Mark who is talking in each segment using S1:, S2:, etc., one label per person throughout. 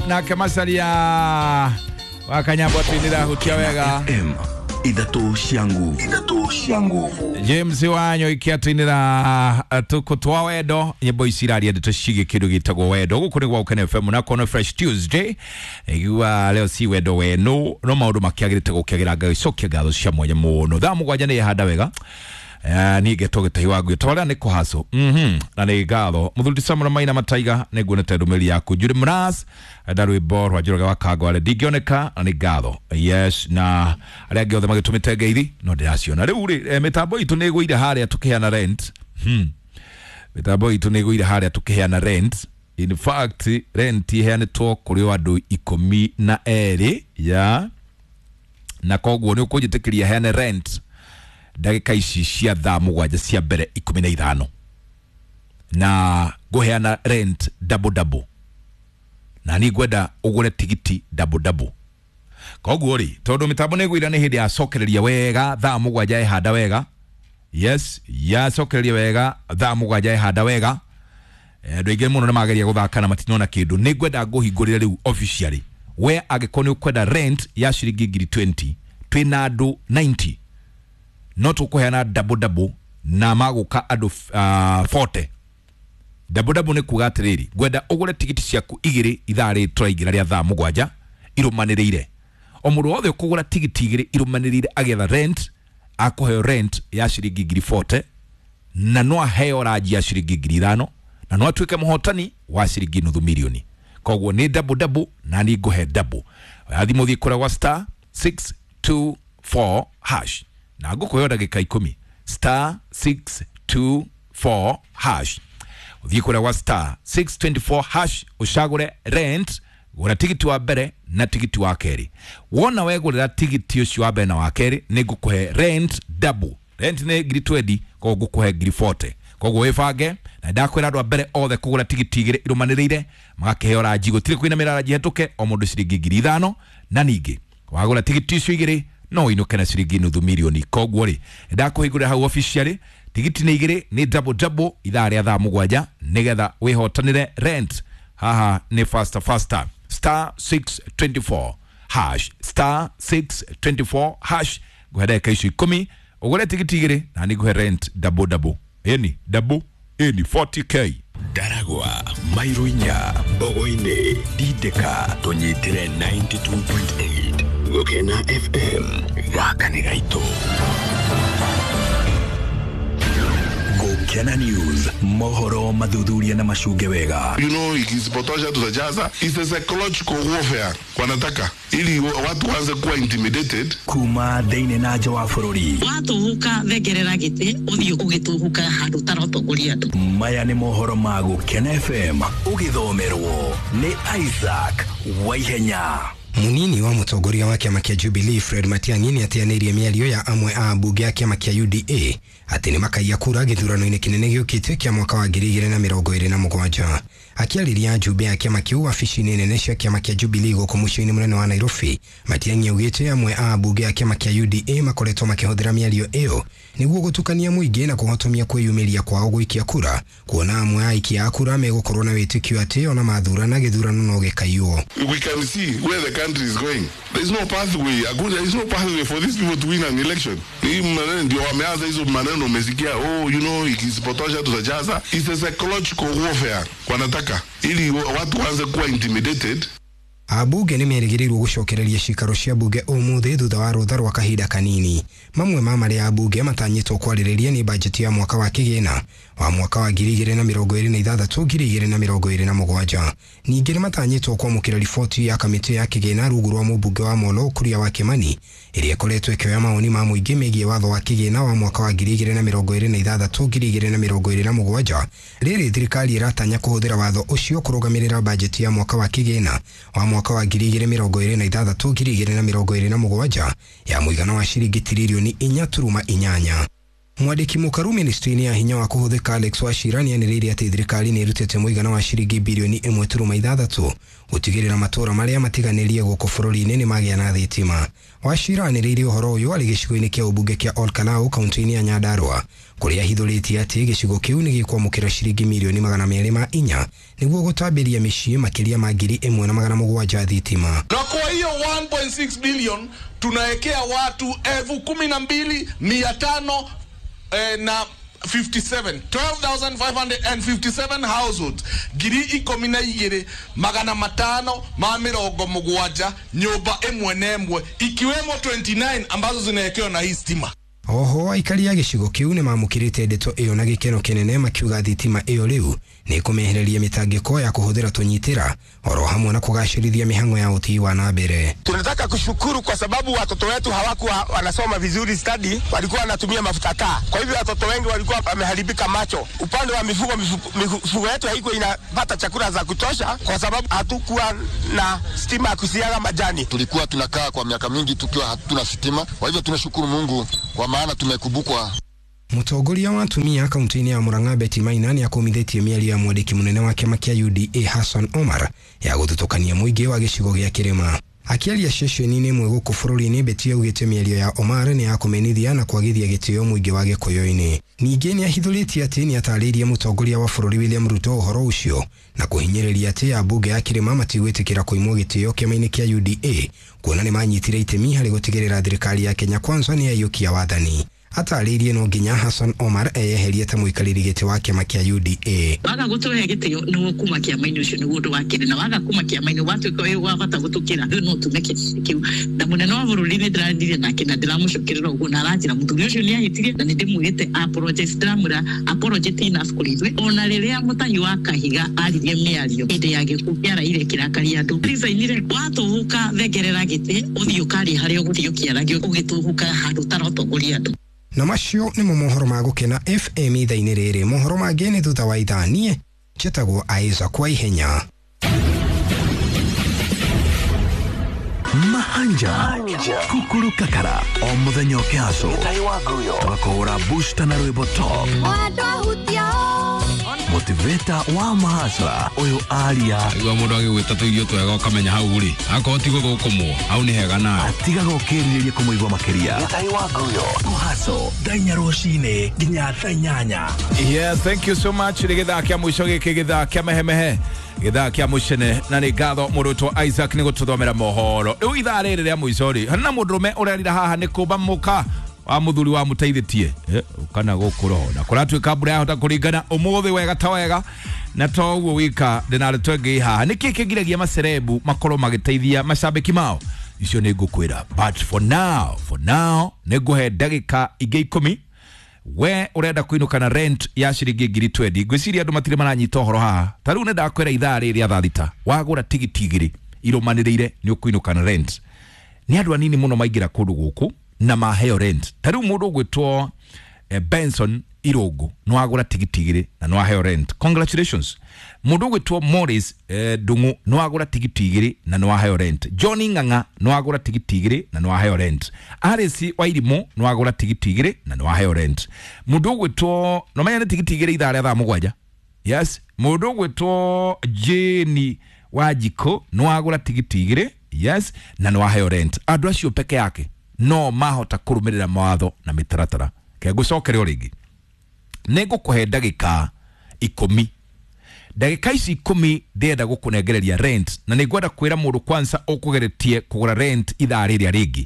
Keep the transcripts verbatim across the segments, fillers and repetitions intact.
S1: Nake Masalia wa Kanyambo twinira hutia wega.
S2: F M ithatu cia nguvu, ithatu cia nguvu.
S1: James Wanyo ikiatwinira tuko twa wendo nyimbo ici iraria ndeto cigie kindu gitagwo wendo guku ni gwa Ukene F M na kono Fresh Tuesday igua leo si wendo wenu no maundu makiagirite gukiagira ngai cokia ngatho cia mwanya muno thaa mugwanja ni handa wega. Uh, ni geto gitahi wangu tawara ni kuhaso mhm na ni ngatho muthuri Samuel Maina Mataiga ni nguonete ndumĩrĩri yaku Judy Mras nda rwimbo rwa Njoroge wa Kangware ndingĩoneka na ni ngatho yes na arĩa angĩ othe magĩtũmĩte ngeithi no ndĩraciona rĩu rĩ eh, mĩtambo itũ nĩ ĩgũire harĩa tũkĩheana rent hmm mĩtambo itũ nĩ ĩgũire harĩa tũkĩheana rent in fact rent iheanĩtwo kũrĩ andũ ikũmi na erĩ ya na koguo nĩ ũkũnjĩtĩkĩria heane rent ndagĩka ici cia thaa mũgwanja cia mbere ikũmi na ithano na ngũheana rent double double na ni ngwenda ũgũre tigiti double double koguo rĩ tondũ mĩtambo nĩ ĩgũira nĩ hĩndĩ yacokereria wega thaa mũgwanja ĩhanda wega yes yacokereria wega thaa mũgwanja ĩhanda wega andũ aingĩ mũno nĩ mageria gũthaka na matinona kĩndũ nĩ ngwenda ngũhingũrĩre rĩu officially we angĩkorwo nĩ ũkwenda rent ya ciringi ngiri twenty twĩna andũ ninety no tukuheana double double na maguka andu uh, forty double double ni kuga atiriri ngwenda ugure tigiti ciaku igiri ithaa rĩ tũraingĩra rĩa thaa mũgwanja irũmanĩrĩire o mũndũ wothe ũkũgũra tigiti igĩrĩ irũmanĩrĩire agĩetha rent akũheo rent ya ciringi ngiri forty na no aheo ranji ya ciringi ngiri ithano na no atuĩke mũhotani wa ciringi nuthu milioni koguo nĩ double double na nĩ ngũhe double thimũ thiĩ kũrĩa gwa star six two four hash na ngũkũheo ndagĩka ikũmi star six two four hash ũthiĩ kũrĩa gwa star six two four hash ũcagũre rent gũra tigiti wa mbere na tigiti wa kerĩ wona wegũrĩra tigiti ũcio wa mbere na wa kerĩ nĩ ngũkũhe rent double rent nĩ ngiri twenty koguo ngũkũhe ngiri forty koguo wĩbange na ndakwĩra andũ a mbere othe kũgũra tigiti igĩrĩ irũmanĩrĩire magakĩheo ranji gũtirĩ kũinamĩra ranji hetũke o mũndũ ciringi ngiri ithano na ningĩ wagũra tigiti icio igĩrĩ no ũinũke na ciringi nuthu milioni koguo rĩ ndakũhingũrĩra hau officially tigiti nĩ igĩrĩ nĩ double double ithaa rĩa thaa mũgwanja nĩgetha wĩhotanĩre rent haha nĩ faster faster star six two four hash star six two four hash ngũhe ndagĩka icio ikũmi ũgũre tigiti igĩrĩ na nĩ ngũhe rent double double ĩni double ĩni forty k
S2: Ndaragwa Mairuinya Mbogo-inĩ Ndindĩka tũnyitĩre ninety two point eight Gũkena F M gaka nĩ gaitũ Gũkena News mohoro mathuthuria na macunge wega.
S3: You know, ikisipotosha tutajaza. It's a psychological warfare wanataka ili watu waanze kuwa intimidated
S2: kuma thĩinĩ na nja wa bũrũri.
S4: Watuhuka thengerera gĩtĩ ũthiĩ ũgĩtuhuka handũ ũtarotongoria andũ.
S2: Maya nĩ mohoro ma Gũkena F M ũgĩthomerwo nĩ Isaac Waihenya.
S5: Munini wa mũtongoria wa kĩama kĩa Jubilee Fred Matiang'i nĩateanĩirie mĩario ya amwe a ambunge a kĩama kĩa U D A atĩ nĩmakaiya kura gĩthurano-inĩ kĩnene gĩũkĩte kĩa mwaka wa ngiri igĩrĩ na mĩrongo ĩrĩ na mũgwanja. Akĩarĩria njumbe ya kĩama kĩu wabici-inĩ nene cia kĩama kĩa Jubilee gũkũ mũciĩ-inĩ mũnene wa Nairobi, Matiang'i augĩte amwe a ambunge a kĩama kĩa U D A makoretwo makĩhũthĩra mĩario ĩyo nĩguo gũtukania mũingĩ na kũhotomia kwĩyumĩria kwao gũikia kura, kuona amwe a aikia a kura megũkorwo na wĩtĩkio atĩ ona mathurana gĩthurano no gĩkaiywo.
S3: We can see where the country is going. There is no pathway. There is no pathway for these people to win an election. Hii maneno ndio wameanza hizo maneno umesikia, oh you know ikisipotosha tutajaza. It's a psychological warfare wanataka ili watu waanze kuwa intimidated.
S5: Abunge nĩmerĩgĩrĩirwo gũcokereria cikaro cia bunge ũmũthĩ thutha wa rũtha rwa kahinda kanini. Mamwe ma marĩa abunge matanyĩtwo kwarĩrĩria nĩ bajeti ya mwaka wa kĩgĩna wa mwaka wa ngiri igĩrĩ na mĩrongo ĩrĩ na ithathatũ ngiri igĩrĩ na mĩrongo ĩrĩ na mũgwanja. Ningĩ nĩmatanyĩtwo kwamũkĩra riboti ya kamĩtĩ ya kĩgĩna rungu rwa mũmbunge wa Molo Kuria wa Kimani ĩrĩa ĩkoretwo ĩkĩoya mawoni ma mũingĩ megiĩ watho wa kĩgĩna wa mwaka wa ngiri igĩrĩ na mĩrongo ĩrĩ na ithathatũ ngiri igĩrĩ na mĩrongo ĩrĩ na mũgwanja. Rĩrĩ thirikari ĩratanya kũhũthĩra watho ũcio kũrũgamĩrĩra bajeti ya mwaka wa kĩgĩna wa mwaka wa ngiri igĩrĩ mĩrongo ĩrĩ na ithathatũ ngiri igĩrĩ na mĩrongo ĩrĩ na mũgwanja ya mũigana wa ciringi tiririoni inya turuma inyanya. Mwandĩki mũkaru ministry-inĩ ya hinya wa kũhũthĩka Alex Wachira nĩanĩrĩire atĩ thirikari nĩ ĩrutĩte mũigana wa ciringi birioni ĩmwe turuma ithathatũ gũtigĩrĩra matũũra marĩa matiganĩrie gũkũ bũrũri-inĩ nĩ magĩa na thitima. Wachira anĩrĩire ũhoro ũyũ arĩ gĩcigo-inĩ kĩa ũmbunge kĩa Ol Kalou kaunti-inĩ ya Nyandarua, kũrĩa ahithũrĩtie atĩ gĩcigo kĩu nĩ gĩkwamũkĩra ciringi mirioni magana merĩ ma inya nĩguo gũtambĩria mĩciĩ makĩria ma ngiri ĩmwe na magana mũgwanja thitima.
S6: Na kwa hiyo one point six billion tunawekea watu elfu kumi na mbili mia tano eh, na fifty-seven, twelve thousand five hundred and fifty-seven households, ngiri ikũmi na igĩrĩ magana matano ma mĩrongo mũgwanja nyũmba ĩmwe na ĩmwe, ikiwemo twenty-nine ambazo zinawekewa na hii stima.
S5: Oho aikari a gĩcigo kĩu nĩ mamũkĩrĩte ndeto ĩyo na gĩkeno kĩnene, makiuga thitima ĩyo rĩu nĩ ĩkũmehereria mĩtangĩko ya kũhũthĩra tũnyitĩra oro hamwe na kũgacĩrithia mĩhang'o ya ũthii wa na mbere.
S7: Tunataka kushukuru kwa sababu watoto wetu hawakuwa wanasoma vizuri study, walikuwa wanatumia mafuta taa. Kwa hivyo watoto wengi walikuwa wameharibika macho. Upande wa mifugo, mifugo yetu haikuwa inapata chakula za kutosha kwa sababu hatukuwa na stima ya kusiaga majani.
S8: Tulikuwa tunakaa kwa miaka mingi tukiwa hatuna stima. Kwa hivyo tunashukuru Mungu kwa maana tumekumbukwa.
S5: Mũtongoria wa atumia kaunti-inĩ ya Murang'a Betty Maina nĩakũmithĩtie mĩario ya mwandĩki mũnene wa kĩama kĩa U D A Hassan Omar ya gũthutũkania mũingĩ wa gĩcigo gĩa Kĩrĩma. Akĩaria ceceni-inĩ ĩmwe gũkũ bũrũri-inĩ, Betty augĩte mĩario ya Omar nĩ ya kũmenithia na kwagithia gĩtĩo mũingĩ wa Gĩkũyũ-inĩ. Ningĩ nĩahithũrĩtie atĩ nĩatarĩirie mũtongoria wa bũrũri William Ruto ũhoro ũcio na kũhinyĩrĩria atĩ ambunge a Kĩrĩma matigwĩtĩkĩra kũimwo gĩtĩo kĩama-inĩ kĩa U D A kuona nĩmanyitire itemi harĩ gũtigĩrĩra thirikari ya Kenya Kwanza nĩyaiyũkia wathani. Atarĩirie no nginya Hassan Omar eyeherie ta mũikarĩri gĩtĩ wa kĩama kĩa U D A.
S4: Waga gũtũhe gĩtĩo nĩguo kuma kĩama-inĩ ũcio nĩguo ũndũ wa kerĩ, na waga kuma kĩama-inĩ watuĩka wĩ wa bata gũtũkĩra rĩu no tume kĩtĩ kĩu. Na mũnene wa bũrũri nĩ ndĩraririe nake na ndĩramũcokerera ũguo na aranjĩra mũthuri ũcio nĩ ahĩtirie na nĩ ndĩmwĩrĩte apologize, ndĩramwĩra apology enough kũrĩ ithuĩ. Ona rĩrĩa Mũtahi wa Kahiga aririe mĩario hĩndĩ ya gĩkuũ kĩa Raila kĩrakaria andũ, resign-ire, watũhũka thengerera gĩtĩ ũthiĩ ũkarie harĩa ũgũthiĩ ũkĩaragia ũgĩtũhũka handũ ũtarotongoria andũ.
S5: Na macio nĩmo mohoro ma Gũkena F M ithaa-inĩ rĩrĩ. Mohoro mangĩ nĩ thutha wa ithaa. Niĩ njĩtagwo Isaac wa Ihenya.
S2: Mahanja Kukuru Kakara o muthenya ũkĩhaco tũgakũhũra booster na rwĩmbo top motivator wa mahasra ũyũ aria
S1: igua mũndũ agĩgwĩta tũirio twega ũkamenya hau rĩ akorwo ti gũthũkũmwo hau nĩ hega nawe
S2: atigaga ũkĩrirĩria kũmũigua makĩria kũhaco thaa inya rũcinĩ nginya thaa inyanya.
S1: Yeah, thank you so much. Nĩ gĩthaa kĩa mũico gĩkĩ, gĩthaa kĩa mehemehe, gĩthaa kĩa mũcene, na nĩ ngatho mũrutwo Isaac nĩ gũtũthomera mohoro. Rĩu ithaa rĩrĩ rĩa mũico rĩ, harĩ na mũndũrũme ũrerira haha nĩ kũmba mũka wa mũthuri wa mũteithĩtie kana gũkũ roho na kũratuĩka mbura yahota kũringana ũmũthĩ wega ta wega na to ũguo wika ndĩna ndeto ĩngĩ haha. Nĩkĩ kĩgiragia macerebu makorwo magĩteithia macambĩki mao? Icio nĩ ngũkwĩra, but for now, for now nĩ ngũhe ndagĩka ingĩ ikũmi. We urenda kuinuka na rent ya ciringi ngiri twendi, ngwĩciria andũ matirĩ maranyita ũhoro haha. Ta rĩu nĩ ndakwĩra ithaa rĩrĩ rĩa thaa thita wagũra tigiti igĩrĩ irũmanĩrĩire nĩ ũkũinũka na rent. Nĩ andũ anini mũno maingĩra kũndũ gũkũ na maheo rent. Ta rĩu mũndũ ũgwĩtwo eh, Benson Irũngũ nĩ wagũra tigiti igĩrĩ na nĩ waheo rent, congratulations. Mũndũ ũgwĩtwo Morris eh, Ndung'u nĩ wagũra tigiti igĩrĩ na nĩ waheo rent. Johnny Ng'ang'a nĩ wagũra tigiti igĩrĩ na nĩ waheo rent. Alice Wairimũ nĩ wagũra tigiti igĩrĩ na nĩ waheo rent. Mũndũ ũgwĩtwo no menya nĩ tigiti igĩrĩ ithaa rĩa thaa mũgwanja. Yes, mũndũ ũgwĩtwo Jane Wanjikũ nĩ wagũra tigiti igĩrĩ, yes, na nĩ waheo rent. Andũ acio peke yake no mahota kũrũmĩrĩra mawatho na mĩtaratara. Ke ngũcokere o rĩngĩ, nĩ ngũkũhe ndagĩka ikũmi. Ndagĩka ici ikũmi ndĩrenda gũkũnengereria rent, na nĩ ngwenda kwĩra mũndũ kwanza ũkũgeretie kũgũra rent ithaa rĩrĩa rĩngĩ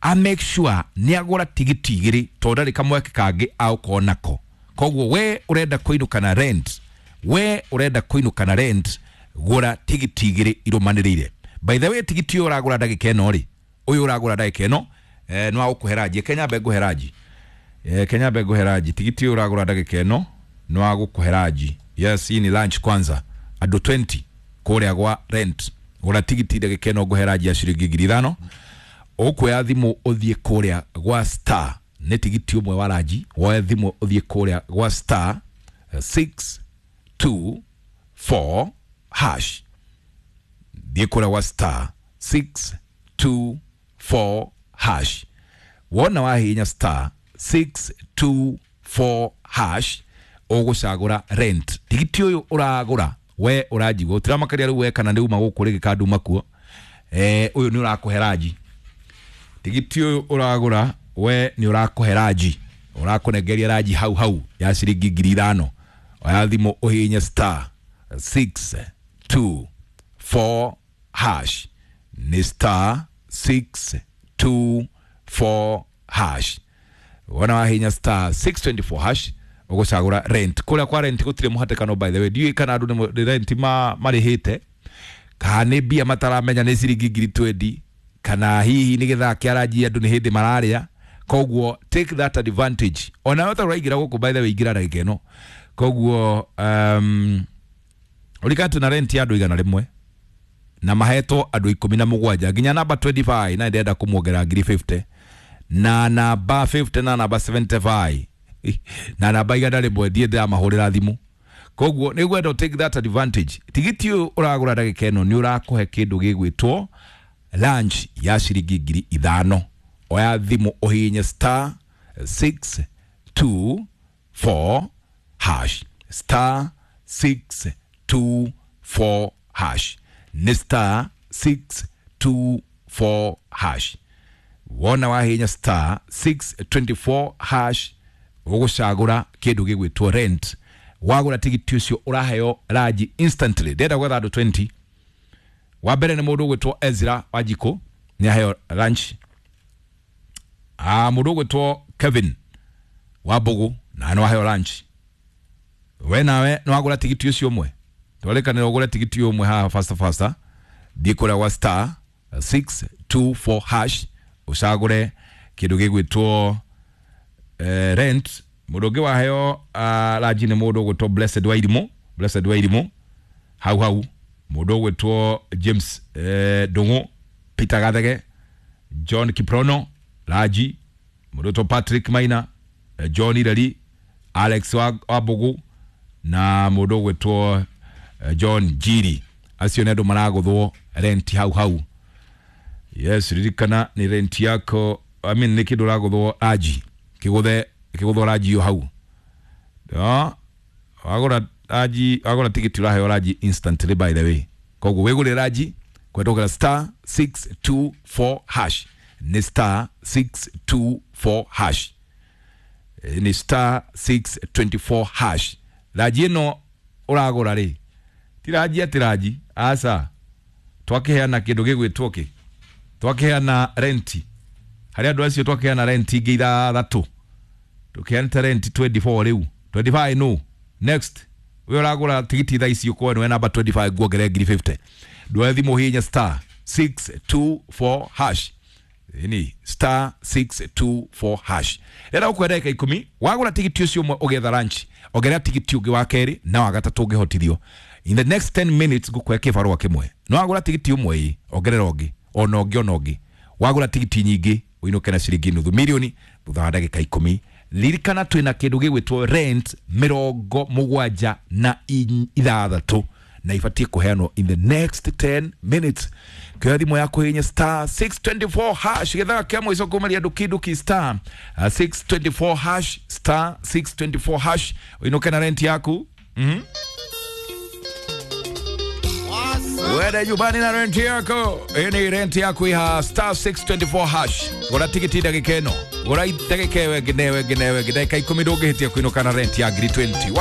S1: a make sure nĩ agũra tigiti igĩrĩ tondũ ndarĩ kamweke kangĩ agũkorwo nako. Koguo we ũrenda kũinũka na rent, we ũrenda kũinũka na rent, gũra tigiti igĩrĩ irũmanĩrĩire. By the way, tigiti ũyũ ũragũra ndagĩka ĩno rĩ, ũyũ ũragũra ndagĩka ĩno eh, nĩ wa gũkũhe ranji. Kenya mbe ngũhe ranji, eh, Kenya mbe ngũhe ranji. Tigiti ũyũ ũragũra ndagĩka ĩno nĩ wa gũkũhe ranji. Yes, hii ni lunch kwanza. Andũ twenty kũrĩa gwa rent. Gũra tigiti ndagĩka ĩno ngũhe ranji ya ciringi ngiri ithano. Ũkuoya thimũ ũthiĩ kũrĩa gwa star, nĩ tigiti ũmwe wa ranji. Woe thimũ ũthiĩ kũrĩa gwa star six two four hash. Thiĩ kũrĩa gwa star six two four hash. Wona wahihinya star six two four hash ũgũcagũra rent. Tigiti ũyũ ũragũra we ũranjigua ũtiramakaria rĩu we kana nĩ uma gũkũ rĩngĩ kana nduma kuo, eh, ũyũ nĩ ũrakũhe ranji. Tigiti ũyũ ũragũra we nĩ ũrakũhe ranji, ũrakũnengeria ranji hau hau ya ciringi ngiri ithano. Oya thimũ ũhihinye star six two four hash, nĩ star six two four hash. Wona wahihinya star six twenty four hash ũgũcagũra rent. Kũrĩa kwa rent gũtirĩ mũhatĩkano, by the way. Ndiũĩ kana andũ nĩ rent ma marĩhĩte kana nĩ mbia mataramenya nĩ ciringi ngiri twenty, kana hihi nĩ gĩthaa kĩa ranji andũ nĩ hĩndĩ mararĩa. Koguo take that advantage. Ona wewe ũraingĩra gũkũ, by the way, ingĩra ndagĩka ĩno. Koguo um, ũrikana na rent ya andũ igana rĩmwe na mahetwo andũ ikũmi na mũgwanja nginya namba twenty five, na ndĩrenda kũmuongerera ngiri fifty na namba fifty na namba seventy five na namba igana rĩmwe ndiĩ ndĩramahũrĩra thimũ. Koguo nĩ ngwenda take that advantage. Tigiti ũyũ ũragũra ndagĩka ĩno nĩ ũrakũhe kĩndũ gĩgwĩtwo lunch ya ciringi ngiri ithano. Oya thimũ ũhihinye star six two four hash, star six two four hash, nĩ star six two four hash. Wona wahihinya star six twenty four hash ũgũcagũra kĩndũ gĩgwĩtwo rent. Wagũra tigiti ũcio ũraheo ranji instantly. Ndĩrenda gwetha andũ twenty. Wa mbere nĩ mũndũ ũgwĩtwo Ezra Wanjikũ, nĩ aheo lunch. Ah, mũndũ ũgwĩtwo Kevin wa Mbugu na no aheo lunch. We nawe no wagũra tigiti ũcio ũmwe, twarĩkanĩra ũgũre tigiti ũmwe haha faster faster. Thiĩ kũrĩa gwa star six two four hash ũcagũre kĩndũ gĩgwĩtwo eh, rent. Mũndũ ũngĩ waheo uh, ranji nĩ mũndũ ũgwĩtwo Blessed Wairimu, Blessed Wairimu hau hau. Mũndũ ũgwĩtwo James eh, Ndung'u, Peter Gathege, John Kiprono ranji. Mũndũ ũgwĩtwo Patrick Maina, eh, John Ireri, Alex wa Mbugu na mũndũ ũgwĩtwo eh, John Njiri. Acio nĩ andũ maragũthwo rent hau hau. Yes, ririkana nĩ rent yako, I mean nĩ kĩndũ ũragũthwo ranji, kĩgũthe kĩgũthwo ranji yo hau. No, wagũra ranji, wagũra tigiti ũraheo ranji instantly, by the way. Koguo wĩgũre ranji kwendokera star six two four hash, nĩ star six two four hash, nĩ star six twenty four hash. Ranji ĩno ũragũra rĩ ti ranji atĩ ranji, aca twakĩheana kĩndũ gĩgwĩtwo kĩ, twakĩheana renti harĩ andũ acio, twakĩheana renti ingĩ ithathatũ, tũkĩheanĩte renti twenty four rĩu twenty five no next. We ũragũra tigiti thaa ici ũkorwo nĩwe namba twenty five nguongerere ngiri fifty. Ndwoe thimũ ũhihinye star six two four hash, ni star six two four hash. Rĩrĩa ũkwenda ndagĩka ikũmi wagũra tigiti ũcio ũmwe ũgetha lunch, ongerera tigiti ũngĩ wa kerĩ na wa gatatũ ũngĩhotithio. In the next ten minutes ngũkũhe kĩbarũa kĩmwe. No wagũra tigiti ũmwe ĩ ongerera ũngĩ ona ũngĩ ona ũngĩ. Wagũra tigiti nyingĩ ũinũke na ciringi nuthu milioni thutha wa ndagĩka ikũmi. Ririkana twĩna kĩndũ gĩgwĩtwo rent mĩrongo mũgwanja na ithathatũ na ibatiĩ kũheanwo in the next ten minutes. Kĩoya thimũ yaku hihinya star six twenty four hash gĩthaa kĩa mũico kumaria nduki nduki star six twenty four hash, star six twenty four hash ũinũke na rent yaku. Mhm. Wende nyumbani na rent yako. Ini rent yaku iha star six twenty four hash. Gũra tigiti ndagĩka ĩno, gũra ndagĩka ĩyo ĩngĩ na ĩyo ĩngĩ na ĩyo ĩngĩ, ndagĩka ikũmi ndũngĩhĩtia kũinũka na rent ya ngiri twenty.